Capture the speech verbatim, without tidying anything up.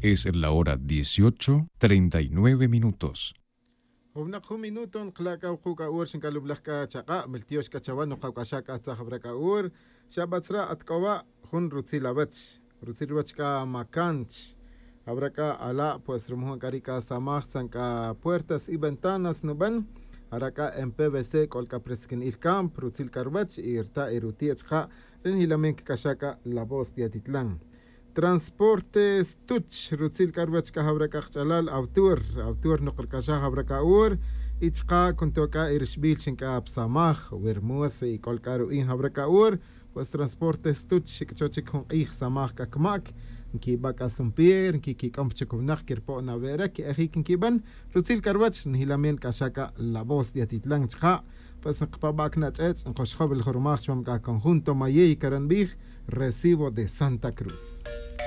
Es la hora dieciocho treinta y nueve minutos. Jun winak jun minuto nkala' c'a wuku' c'a hora xinc'alubelaj c'a chak'a' miltiox c'a chawe nokawc'axa c'a tzaj jawara c'a hora. Xabatzra' at c'o wa' jun rutzil awech, rutzil ruwech c'a macanch. Jawara c'a ala' pues rumo jun c'a ri c'a samaj tzan c'a puertas y ventanas nuben. Jara c'a en pvc c'ol c'a presquin'il camp rutzil c'a ruwech y rta' y ruti'ech ja. Ri njilamen cac'axa c'a la voz de atitlan. Transporte stuch rutzil c'a ruwech c'a jawara c'a kach'alal autor, autor nok rc'axaj jawara c'a hora. Y chka' cunto c'a y rixbil xin c'a psamaj wi rmos y c'ol c'a ru'in jawara c'a hora. Pues transporte stuch xic' cho chic jun k'ij samaj c'a cmac nquiba' c'a sumpier nquiquic'om pa chic winak quirpo'na we' re que'ejic nquiban. Rutzil c'a ruwech njilamen ca'xa c'a la voz de atitlan chka'. Pues nkpaba' cna ch'ech' nkoxjob el jurmaj chupam c'a conjunto mayey caranbij recibo de santa cruz.